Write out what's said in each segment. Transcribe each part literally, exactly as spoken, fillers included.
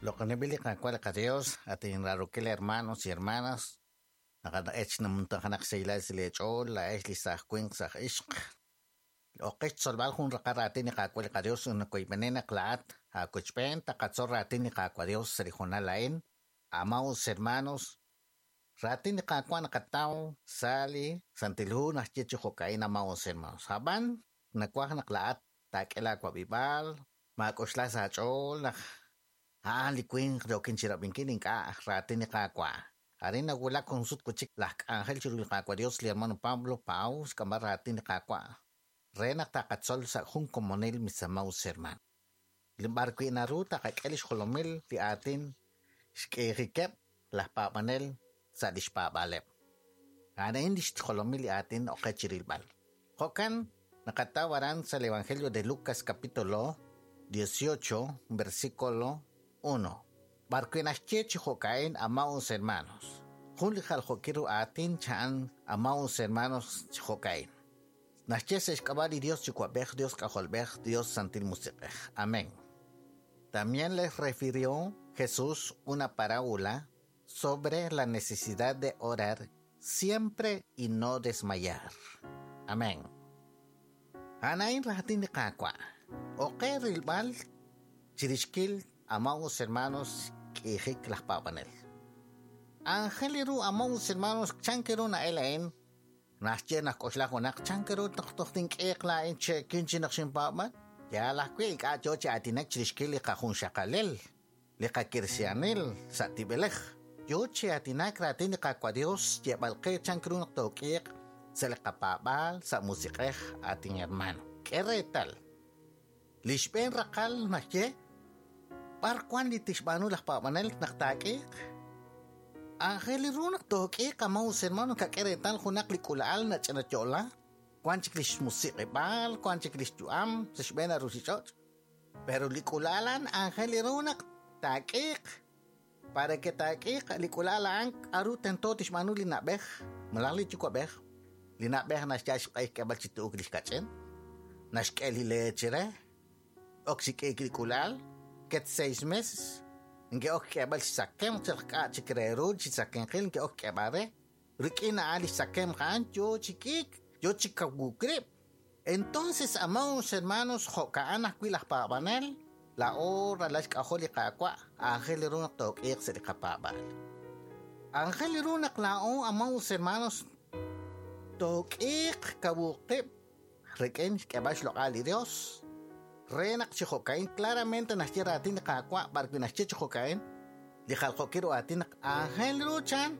Loq'onib'il li Qaawa' li qaDios, atinrarukil hermanos y hermanas, naqat'ech namuntajanak saylal silech'ool, la'ex li saj winq saj ixq. Oqech tzolb'al jun raqal raatin li Qaawa' li qaDios unakoyb'enen naq laat aakuchb'een taqatzol raatin li Qaawa' Dios sa' li jonal a'in. Amados hermanos, raatin li Qaawa' naqataw sa' li Santil Hu naxye chi jo'ka'in amados hermanos. Hab'an nakuaj naq laat taak'e laawab'ib'al, maak'oxla sa' aach'ool naq a'an li winq yokin chi rab'inkil ink'a' raatin li Qaawa'. Arin nawulak jun sut kuchik laj k'anjel chiru li Qaawa' Dios li hermano Pablo Pau xk'amb'al raatin li Qaawa'. Re naq taqatzol sa' jun komonil mis amados hermano. Li b'ar wi' naru taqak'e lix jolomil li aatin xk'eejikeb' laj paab'anel sa' lix paab'aaleb'. A'an lix jolomil li aatin oqe chirilb'al. Jo'kan naqataw aran sa' el Evangelio de Lucas capítulo dieciocho versículo uno. B'ar wi' naxye chi jo'ka'in amados hermanos. Jun li jaljo'kil ru aatin cha'an amados hermanos chi jo'ka'in. Naxye sa' xk'ab'a' li Dios Yuwa'b'ej, Dios K'ajolb'ej, Dios Santil Musiq'ej. Amén. También les refirió Jesús una parábola sobre la necesidad de orar siempre y no desmayar. Amén. Anain raatin li Qaawa'. Oqe rilb'al chirixkil amados hermanos k'ijik laj paab'anel. Ángel ru amados hermanos chankeru na'el a'in. Naxye naq k'oxla junaq chankeru toj tink'eeq laa'in che'kin chi naq xinpaab'an. Yaal ajwi' ink'a' yoo chi aatinak chirixkil li qajunxaqalel, li qakirsianil sa' tib'elej. Yoo chi aatinak raatin li Qaawa' Dios yeb'al qe chankeru naq took'eeq sa' li qapaab'aal sa' musiq'ej atin hermano. K'e reetal. Li xb'een raqal naxye b'ar wan li tixb'aanu laj paab'anel naq taak'eeq. Ángel ru naq took'eeq amados hermano kak'e reetal junaq li k'ula'al nach'ina yo'la. Wan chik lix musiq'eb'aal, wan chik lix yu'am sa' xb'een aruchich'och'. Pero li k'ula'alan ángel ru naq taak'eeq. Para que taak'eeq li k'ula'al a'an k'aru tento tixb'aanu li na'b'ej, malaj li yuwa'b'ej. Li na'b'ej naxyal xq'e xk'eb'al chi tu'uk lix kach'in. Naxk'e li leche re. Ok xik'eek li k'ula'al, ket seis meses. Nke ok k'eb'al xsakem chal k'a' chik re ru chi sakenqil nke ok k'eb'al re. Rik'in a'an li xsakem a'an yoo chi k'iik, yoo chi kawukrib'. Entonces, amados hermanos, jo'ka'an ajwi' laj paab'anel, la'o ralal xk'ajol li Qaawa', aajel ru naq took'iiq sa' li qapaab'aal. Aajel ru naq la'o, amados hermanos, took'iiq kawuqib' rik'in xk'eb'al xloq'al li Dios. Re naq chi jo'ka'in claramente naxye raatin li Qaawa' b'ar wi' naxye chi jo'ka'in, li jaljo'kil ru aatin naq aajel ru chan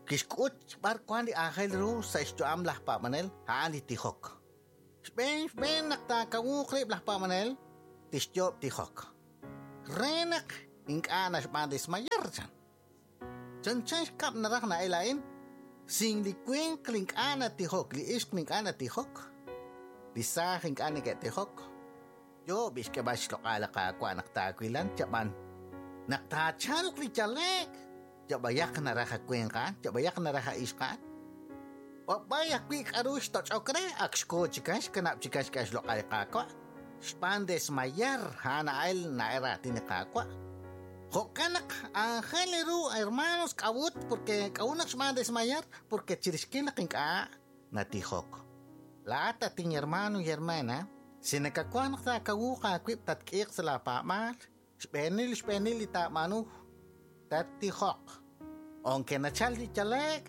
kixk'ut b'ar wan li aajel ru sa' xyu'am laj paab'anel a'an li tijok. Xb'een xb'een naq taakawuuq rib' laj paab'anel tixyoob' tijok. Re naq ink'a' naxb'aan desmayar chan. Chanchan xkab' naraj na'el a'in, sin li winq li ink'a' natijok, li ixq li ink'a' natijok, li saaj ink'a' neke'tijok. Yoob' xk'eb'al xloq'al li Qaawa' naq taawilan chab'an. Naq taachalq li yaleek, yab'ayaq naraj a winq a'an, yab'ayaq naraj a ixq a'an. B'ab'ay ajwi' k'aru xtoch'ok re, ak xkoo chikan, xkanab' chikan xk'e xloq'al li Qaawa'. Xb'aan desmayar, a'an a'el na'el raatin li Qaawa'. Jo'kan naq aajel ru hermanos k'awut, porque k'awut naq xb'aan desmayar, porque chirixkil naq ink'a' natijok. Laat atin hermano y hermana, si nakakuaj naq taakawuuq aawib' tatk'iiq sa' laapaab'aal, xb'eenil xb'eenil li taab'aanu, tattijoq. Aunque nachal li yaleek,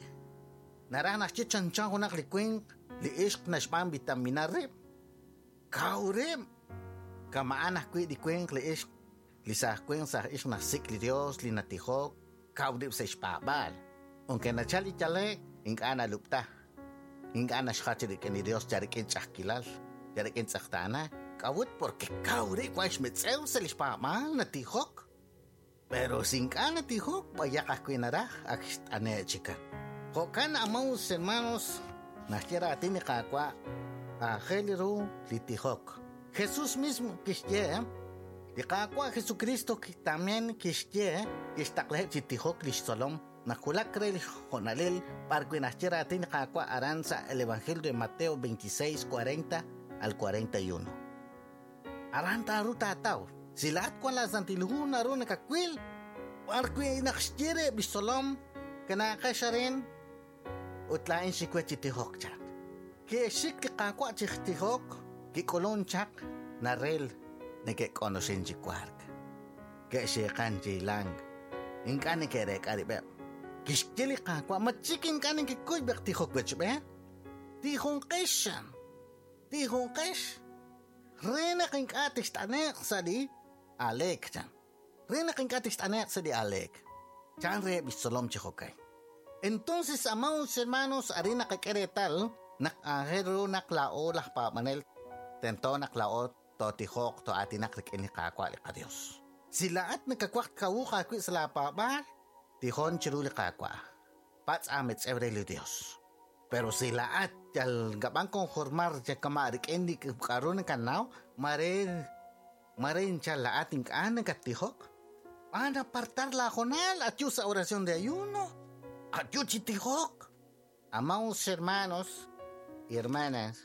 naraj naxye chanchan junaq li winq, li ixq naxb'aan vitamina rib'. Kaw rib'. Kama'an ajwi' li winq, li ixq, li saj winq, saj ixq naxsik' li Dios, li natijok, kaw rib' sa' xpaab'aal. Aunque nachal li yaleek, ink'a' nalub'ta. Ink'a' naxjach rik'in li Dios ya rik'in ch'ajkilal, ya rik'in tz'aqtaana. K'awut porque kaw rib' wan xmetz'ew sa' li xpaab'aal natijok. Pero si ink'a' natijok, b'ayaq ajwi' naraj ak xt'ane' chikan. Jo'kan amados hermanos, naxye raatin li Qaawa' aajel ru li tijok. Jesús mismo kixye, li Qaawa' Jesucristo también kixye, kixtaqlaheb' chi tijok lix tzolom naq wulak re li jonalil b'ar wi' naxye raatin li Qaawa' aran sa' el Evangelio de Mateo veintiséis, cuarenta al cuarenta y uno. Aran taaru taataw. Si laat wan la Santil Hu naru nakakwil, b'ar wi' naq xye reheb' lix tzolom, kanaaqex arin, ut laa'in xikwe chi tijok chaq. Ke'xik li Qaawa' chi tijok, kik'ulun chaq, naril neke'k'onoxin chi wark. Ke'xiiqan chi hilank, ink'a' neke'reek'a rib'eb'. Kixye li Qaawa', ma chik ink'a' nekekuy b'eq tijok wechb'een? Tijunqex, tijunqex. Re naq ink'a' tixt'ane'q sa' li aleek chan. Re naq ink'a' tixt'ane'q sa' li aleek. Chan reheb' lix tzolom chi jo'kan. Entonces, amados hermanos, arin naqak'e reetal naq aajel ru naq laa'o laj paab'anel tento naq laa'o tootijoq to'aatinaq rik'in li Qaawa' li qaDios. Si laa'at nakawaj kawuq aawi' sa' laapaab'aal, tijon chiru li Qaawa'. Patz' aametz'ew re li Dios. Pero si laa'at yal ngab'an conformar yakama rik'in li k'aru nakanaw, mare mare inchal laa'at ink'a' nakattijok. Van a apartar la jonal, atiu sa oración de ayuno, atiu chi tijok. Amados hermanos y hermanas,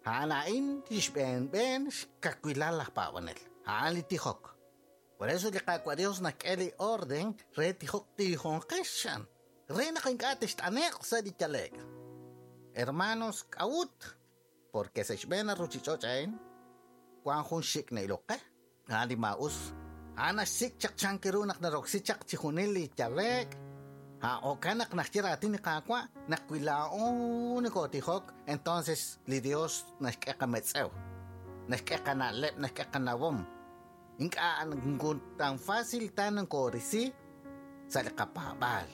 ha'an xb'een b'een xkakwilal laj paab'anel, ha'an li tijok. Por eso li Qaawa' Dios nak'e li orden re tijok tijonqex re naq ink'a' tixt'ane'q sa' li yale'k. Hermanos, k'awut, porque sa' xb'een ruchich'och' a'in wan jun xik' na'iloq qe, a'an li maa'us, a'an naxsik' chaq chan ru naq naroksi chaq chi junil li yale'k. Ha jo'kan naq naxye raatin li Qaawa' naq wi laa'o nokotijok, entonces li Dios naxk'e qametz'ew, naxk'e qana'leb', naxk'e qanawom. Ink'a' tan fácil tan nokorisi sa' li qapaab'aal.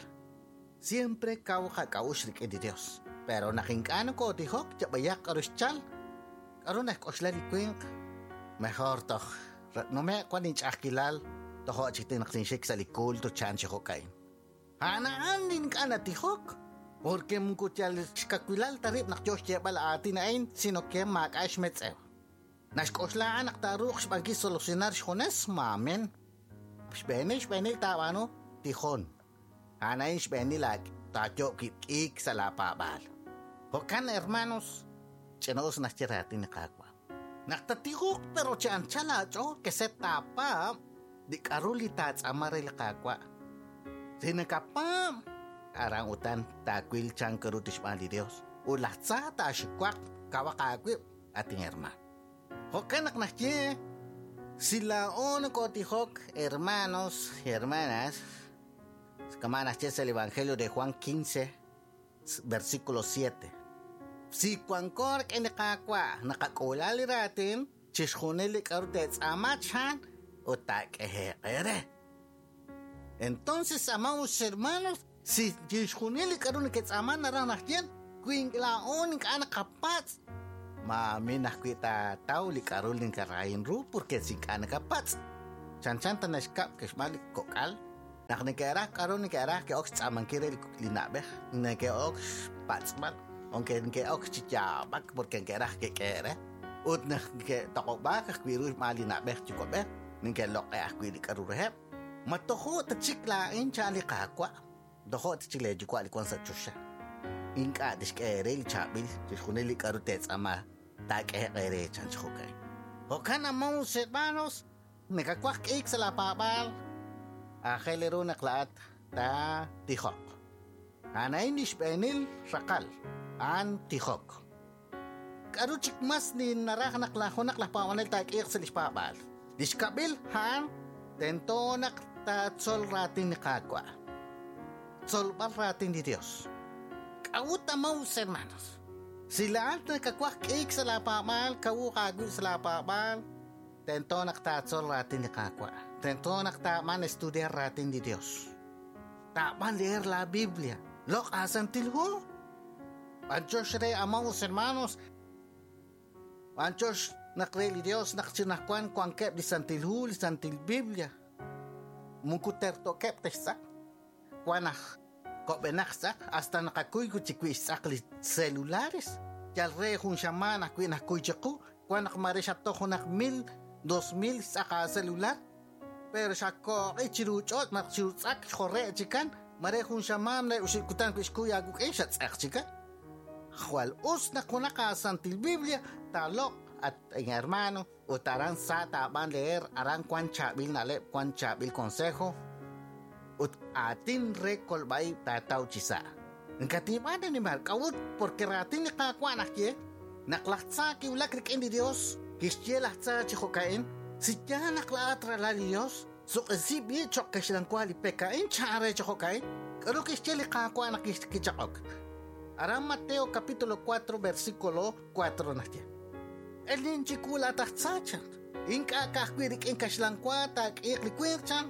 Siempre kaw qak'a'uxl rik'in li Dios. Pero naq ink'a' nokotijok, yab'ayaq k'aru xchal, k'aru naxk'oxla li winq, mejor toj nume' wan inch'a'ajkilal, tojo' chik naq tinxik sa' li culto chan chi jo'ka'in. Ha'an ink'a' natijok, porque moko yal xkakwilal ta rib' naq yo xyeeb'al aatin a'in, sino que maak'a' xmetz'ew. Naxk'oxla a'an naq taaruuq xb'ankil solucionar xjunes, maamen. Xb'eenil xb'eenil taab'aanu, tijon. A'an a'in xb'eenil taayo' kik' sa' laapaab'aal. Jo'kan, hermanos, ch'inoos naxye raatin li Qaawa'. Naq tatijoq pero chi anchal aach'ool que se taapaab' li k'aru li taatz'aama re li Qaawa'. Si nakapaab', aran utan taawil chan ru tixb'aan li Dios. Ut laj tza taaxiwaq kawaq aawib', atin hermano. Jo'kan naq naxye, si laa'o nokotijok, hermanos y hermanas, kama naxye sa' el Evangelio de Juan quince, versículo siete. Si wanko rik'in li Qaawa' naqak'uula li raatin, chixjunil li k'aru te'tz'aama chan ut taak'ehe'q eere. Entonces, amados hermanos, si chixjunil li k'aru neke'tz'aama naraj naxye, wi laa'o ink'a' naqapatz', maamin ajwi' taataw li k'aru li nkarahin ru porque si ink'a' nakapatz'. Chanchan ta naxkab' kexb'aan li kok'al, naq neke'raj k'aru neke'raj ke'ok xtz'aamankil re li na'b'ej, neke'ok xpatz'b'al, aunque neke'ok chi yaab'ak porque neke'raj ke'k'ehe' re. Ut naq neke'toq'ob'aak ajwi' ru xb'aan li na'b'ej yuwa'b'ej, neke'loq'e ajwi' li k'aru reheb'. Ma tojo' ta chik laa'in chan li Qaawa', tojo' ta chik lee yuwa' li wan sa' choxa. Ink'a' tixk'e eere li chaab'il chixjunil li k'aru te'tz'aama taak'ehe'q eere chan chi jo'kan. Jo'kan, amados hermanos, nakawaj k'iik sa' laapaab'aal, aajel ru naq laa'at taatijoq. A'an a'in li xb'eenil raqal, a'an tijok. K'aru chik mas li naraj naq laj junaq laj paab'anel taak'iiq sa' li xpaab'aal? Li xkab'il a'an tento naq taatzol raatin li Qaawa'. Tzolb'al raatin li Dios. K'a'ut, amados hermanos? Si laa'at nakawaj k'iik sa' laapaab'aal, kawuq aawib' sa' laapaab'aal, tento naq taatzol raatin li Qaawa'. Tento naq taab'an estudiar raatin li Dios. Taab'an leer la Biblia. Loq' aasantil hu. B'anchox re, amados hermanos, b'anchox naq re li Dios naq chinajwan wankeb' li santil hu, li santil Biblia. Moko tertokeb' textz'aq. Wan aj kob'enaq tz'aq, hasta naqakuy chi wi' xtz'aq li celulares. Yal re jun xamaan ajwi' najkuy chiqu, wan naq mare xatoj junaq mil, dos mil xtz'aq a celular, pero xakoq'i chiru ch'och' naq chiru tz'aq xjore' chikan, mare jun xamaan re uxib' kutan wi' xkuy aawuk'in xatz'aq chikan. Jwal us naq junaq aasantil Biblia taaloq' at hermano, ut aran sa taab'an leer aran wan chaab'il na'leb' wan chaab'il consejo ut aatin re kolb'a'ib' taataw chi sa'. Nkatib'an animal k'a'ut porque raatin li Qaawa' najye naq laj tza kiwulak rik'in li Dios kixye laj tza chi jo'ka'in si yaal naq la'at ralal li Dios suq'isi b'i choq' kaxlanwa li peka'in chan re chi jo'ka'in k'aru kixye li Qaawa' naq kichaq'ok. Aran Mateo capítulo cuatro versículo cuatro najye. Elin chikula taj tza chan ink'a' ka'ajwi' rik'in kaxlanwa taak'iiq li winq chan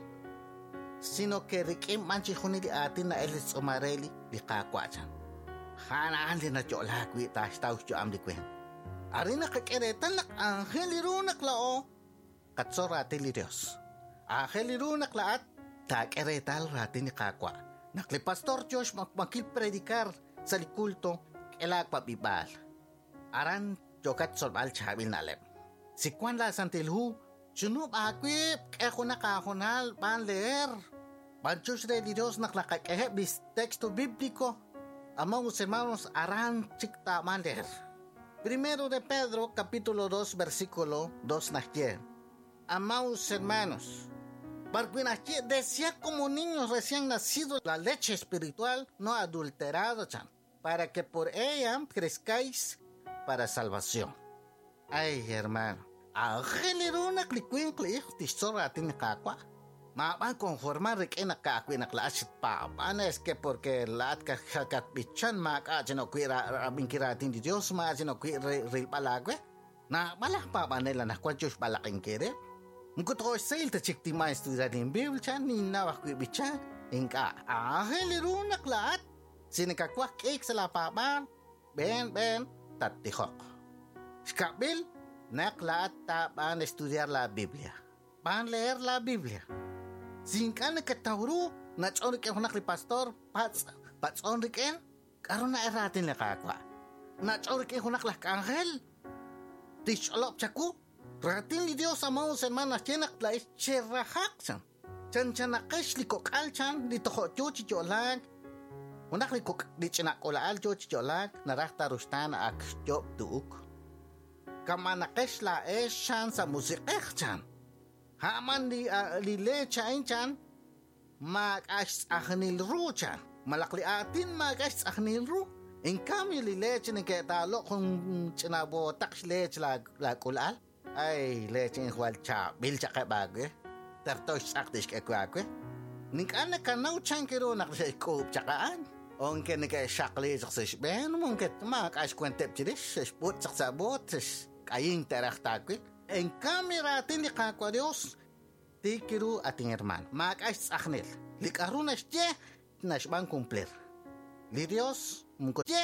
sino que rik'in b'an chixjunil li aatin na'el li tz'umareli li Qaawa' chan. Ja'an li nayo'laak wi' taaxtaw xyu'am li winq. Arin naqak'e reetal naq aajel ru naq la'o qatzol raatin li Dios. Aajel ru naq la'at taak'e reetal raatin li Qaawa'. Naq li pastor yo xmakmakil predicar sa' li culto k'e laawab'ib'aal. Aran yokat tzolb'al chaab'il na'leb'. Si wan la Santil Hu chunub' aawib' k'e junaq aajonal b'an leer. B'anchux re li Dios naq laqak'eheb' li texto bíblico. Amados hermanos, aran chik taab'an leer. Primero de Pedro, capítulo dos, versículo dos najye. Amados hermanos, barquinajye decía como niños recién nacidos la leche espiritual no adulterada, chan, para que por ella crezcáis para salvación. Ay, hermano, aajel ru naq li winq li ixq tixtzol raatin li Qaawa'. Mab'an conformar rik'in naq ka'ajwi' naq la'at xpaab'an es que porque la'at kakatb'ichan maak'a' chinokwi' rab'inkil raatin li Dios ma chinokwi' rilb'al aawe. Naab'al aj paab'anel anaqwan yo xb'alaq'inkil re. Moko toxsayl ta chik tima estudiar in Biblia chan ninnaw ajwi' b'ichan ink'a' aajel ru naq la'at si nakakuaj k'iik sa' la paab'aal b'een b'een tattijoq. Xkab'il naq la'at taab'an estudiar la Biblia. B'an leer la Biblia. Si ink'a' nakataw ru nach'on rik'in junaq li pastor patz' patz'on rik'in k'aru na'el raatin li Qaawa'. Nach'on rik'in junaq laj k'anjel tixch'olob' chaku raatin li Dios amados hermanos naxye naq la'ex cherajaq chan chanchanaqex li kok'al chan li tojo' yo chi yo'laak junaq li kok' li ch'ina k'ola'al yo chi yo'laak naraj taruxtaan ak xyo'b tu'uk kamanaqex la'ex chan sa' musiq'ej chan. Ha'man li li leche a'in chan maak'a' xtz'ajnil ru chan malaq li aatin maak'a' xtz'ajnil ru. En cambio li leche neke'taaloq jun ch'ina botaq xleche la la k'ulal ay leche injwal chaab'il chaqeb' aawe terto xtz'aq tixk'e aawe nink'a' nakanaw chan kiru naq xe'xk'uub' chaq a'an onke neke'xaqli chaq sa' xb'een monke maak'a' xkuenteb' chirix xe'xb'ut chaq sa' boot xk'ayin teraj taawil. En cambio raatin li Qaawa' Dios tikiru atin hermano maak'a' xtz'ajnil li k'aru naxye naxb'an cumplir li Dios moko ye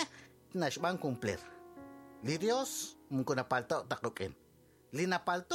naxb'an cumplir li Dios moko napalto' taq ruk'in li napalto